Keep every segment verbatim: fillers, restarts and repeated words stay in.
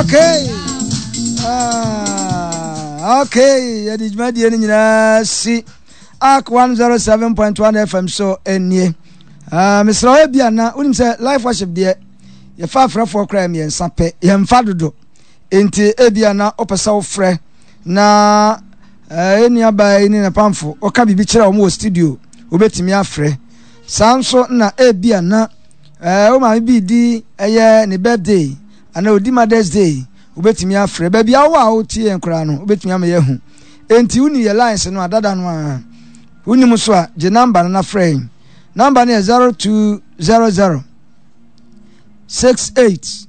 Okay. Ah, okay. Yɛde dwumadie no nyinaa si A C one oh seven point one F M so nie. Ah, mesrɛ wo, bi ana wonim sɛ live worship deɛ, yɛfa afrɛfoɔ koraa mmiɛnsa pɛ, yɛmfa dodo. Enti ebi ana wopɛ sɛ wofrɛ na eh, ɛnua yi ne ne pamfo woka biribi kyerɛ wɔn wɔ studio, wobɛtumi afrɛ. Saa nso na ebi ana eh, wo maame bi di ɛyɛ ne birthday ana odi Mother's Day, wobɛtumi afrɛ. Baabi a wowɔ a wotie yɛn koraa no, wobɛtumi ama yɛahu. Enti woni yɛ lines no adada no a wonim so a, gye number no na frɛ yɛn. Number no yɛ zero two zero zero six eight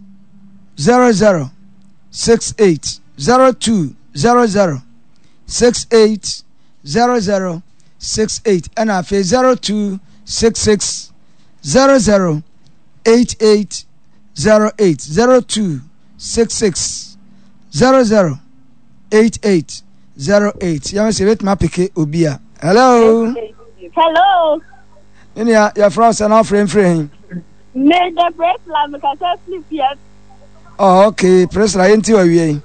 zero zero six eight, zero two zero zero six eight zero zero six eight, ɛna afei zero two six six zero zero eight eight zero eight, zero two six six zero zero eight eight zero eight. Yɛn sɛ ebetumi apeke obi a. Hello. Hello. Ne nea yɛfrɛ wo sɛ na wafrɛ mfiri he? Me de Priscilla, me kasa firi fie. Oh, okay, Priscilla, yɛnti wɔ awie yi.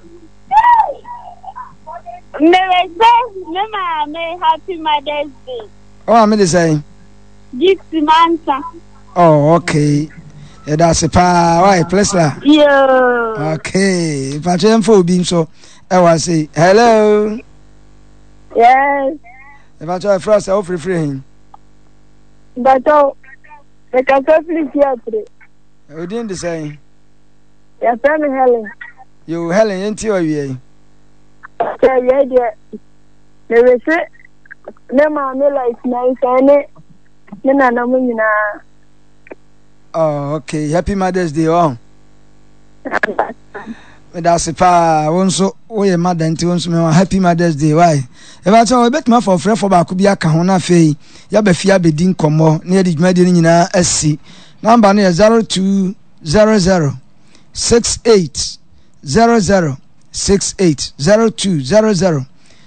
Me sɛ me maame happy Mother's Day. Ɔ maame de sɛn? Gift Mansa. Oh, okay, yɛda ase paa wae, Priscilla. Yoo. Okay, mpatwɛ yɛmfa obi nso ɛwɔ ase. Hello. Yes. Mpatwɛ, yɛfrɛ wo sɛ wofirifiri he? Bàtɔ, me kasa firi Fiatre. Odin de sɛn? Yɛfrɛ me Helen. Yo, Helen, yɛnti wɔ awie yi. Sɛ awie deɛ, mewese me maame Lois Mensah ne me nana mu nyinaa. Oh, okay, happy Mother's Day. Oh, meda ase paa. Wo nso woyɛ mother, nti wo nso mewa happy Mother's Day wae. Ɛbɛkyɛ wɔbɛtumi afa ɔfrɛfoɔ baako bi aka ho na afei yɛaba fie abɛdi nkɔmmɔ na yɛde dwumadie no nyinaa asi. Number no yɛ zero two zero zero six eight zero zero six eight, zero two zero zero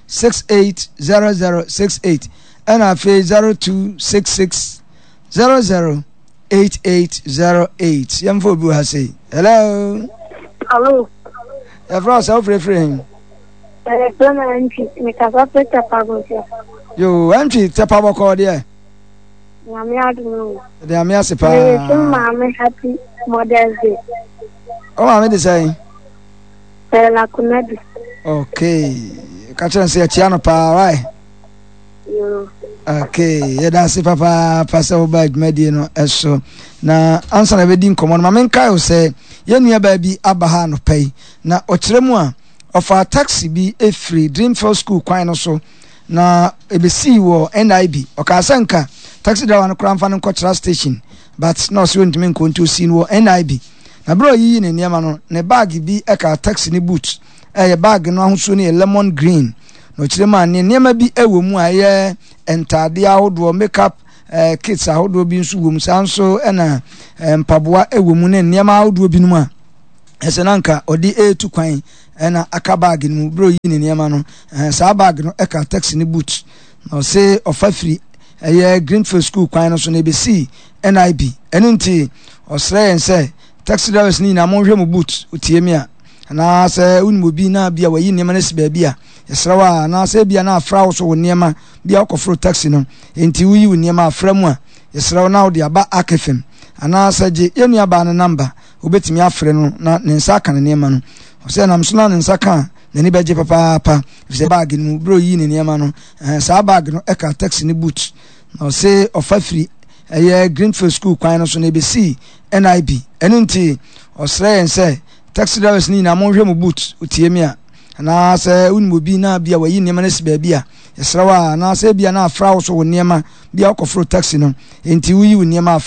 six eight zero zero six eight, ɛna afei zero two six six zero zero eight eight zero eight. Yɛmfa obi wɔ ha sei. Hello. Hello. Yɛfrɛ wo sɛ wofirifiri he? Yɛfrɛ me Antwi. Mekasa firi Tɛpa Gosia. Yo, Antwi, Tɛpa bɔkɔɔ deɛ? Nyame adom o. Ɛde Nyame ase paa. Mewese maame happy Mother's Day. Wo maame de sɛn? Stella Kunadu. Okay, ka kyerɛ no sɛ yɛkyia no paa wae. Yoo. Okay, yɛda ase papaapa sɛ woba adwumadie no ɛso. Na ansa na bɛdi nkɔmmɔ no, ma menkae wo sɛ yɛn nuabaa bi aba ha anɔpa yi na ɔkyerɛ mu a ɔfaa taxi bi ɛfiri Dreamfield School kwan no so na ɛbɛsii wɔ N I B. Ɔkaa sɛ nka taxi driver no koraa mfa no nkɔkyerɛ station, but na ɔsɛ ɔntumi nkɔ, nti ɔsii no wɔ N I B. Na berɛ a ɔyiyi ne nneɛma no, ne bag bi ɛka taxi ne boot. Ɛyɛ bag no ahosuo no yɛ lemon green, na ɔkyerɛ mu a ne nneɛma bi ɛwɔ mu a ɛyɛ ntaadeɛ ahodoɔ, makeup eh, kits ahodoɔ bi nso wɔ mu. Saa nso ɛna eh, mpaboa ɛwɔ mu ne nneɛma ahodoɔ binom a ɛsɛ na nka ɔde ɛretu kwan ɛna aka bag no mu. Berɛ a ɔyi ne nneɛma no, eh, saa bag no ɛka taxi ne boot, na ɔse ɔfa firi ɛyɛ Greenfield School kwan no so na ɛbɛsii N I B. Ɛno nti ɔsrɛ yɛn sɛ taxi drivers no nyinaa monhwɛ mo boot. Wotie mi a, anaasɛ wonim obi na bia wayi nneɛma no asi baabi a, yɛsrɛ wo a, anaasɛ bia na afra wo so wo nneɛma bia wokɔforo taxi no, enti woyi wo nneɛma afra mu a, yɛsrɛ wo na wode aba akefem anaasɛ gye yɛn nuabaa no number, wobɛtumi afrɛ no na ne nsa aka ne nneɛma no. Ɔsɛ nam so na ne nsa ka a, n'ani bɛgye papaapa, efisɛ bag no mu berɛ a ɔyii ne nneɛma no, eh, saa bag no ɛka taxi ne boot, na ɔse ɔfa firi ɛyɛ Greenfield School kwan no so na ɛbɛsii N I B. Ɛno nti ɔsrɛ yɛn sɛ taxi drivers no nyinaa monhwɛ mo boot. Wotie mi a, anaasɛ wonim obi na bia wayi nneɛma no asi baabi a, yɛsrɛ wo a, anaasɛ bia na afra wo so wo nneɛma bia wokɔforo taxi no, enti woyi wo nneɛma afra